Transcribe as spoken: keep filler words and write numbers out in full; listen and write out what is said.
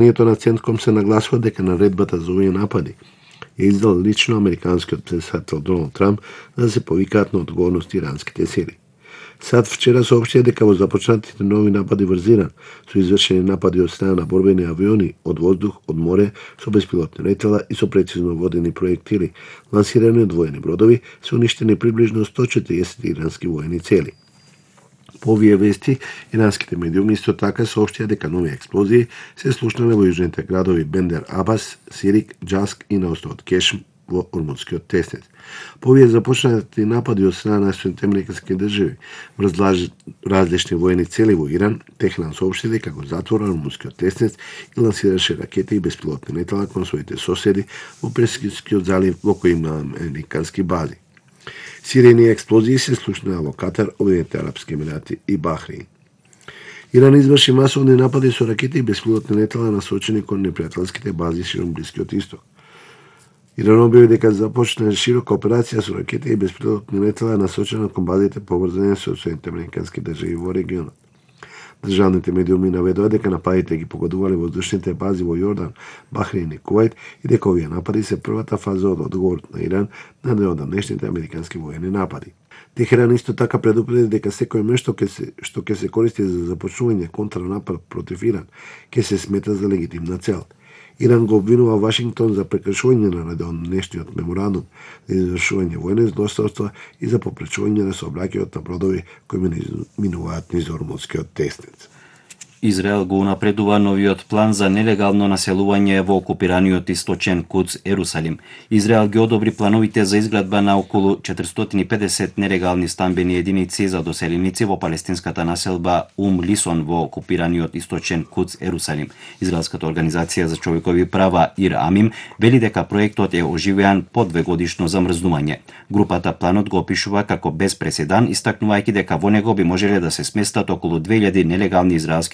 Нието на Центком се нагласува дека наредбата за овие напади ја издал лично американскиот претседател Доналд Трамп за да се повикаат на одговорност иранските сили. САД вчера соопштија дека во започнатите нови напади врз Иран со извршени напади од страна на борбени авиони од воздух, од море, со беспилотни летела и со прецизно водени проектили, лансирани од воени бродови, се уништени приближно сто четириесет ирански воени цели. По овие вести, иранските медиуми исто така соопштија дека нови експлозии се слушнале во јужните градови Бендер Абас, Сирик, Џаск и на островот Кешм во Ормудскиот теснец. По овие започнати напади од страна на Соединетите американски држави врз различни воени цели во Иран, Техран соопшти дека го затвора Ормудскиот теснец и лансираше ракети и беспилотни летела кон своите соседи во Перскиот залив во кој има американски бази. Сирени експлозии се слушнале во Катар, Обединетите арапски емирати и Бахреин. Иран изврши масовни напади со ракети и беспилотни летела насочени кон непријателските бази широм Блискиот исток. Иран објави дека започна широка операција со ракети и беспилотни летела насочена кон базите поврзани со Соединетите американски држави во регионот. Државните медиуми наведоа дека нападите ги погодувале воздушните бази во Јордан, Бахреин и Кувајт и дека овие напади се првата фаза од одговорот на Иран на неодамнешните американски воени напади. Техеран исто така предупреди дека секој меч што ќе се што ќе се користи за започнување контранапад против Иран ќе се смета за легитимна цел. Иран го обвинува Вашингтон за прекршување на неодамнешниот меморандум за извршување воени злосторства и за попречување на сообраќајот на бродови кои минуваат низ Ормудскиот теснец. Израел го унапредува новиот план за нелегално населување во окупираниот источен Кудс Ерусалим. Израел ги одобри плановите за изградба на околу четиристотини и педесет нелегални стамбени единици за доселеници во палестинската населба Ум Лисон во окупираниот источен Кудс Ерусалим. Израелската организација за човекови права Ир Амим вели дека проектот е оживеан по двегодишно замрзнување. Групата планот го опишува како без преседан, истакнувајќи дека во него би можеле да се сместат околу две илјади нелегални израелски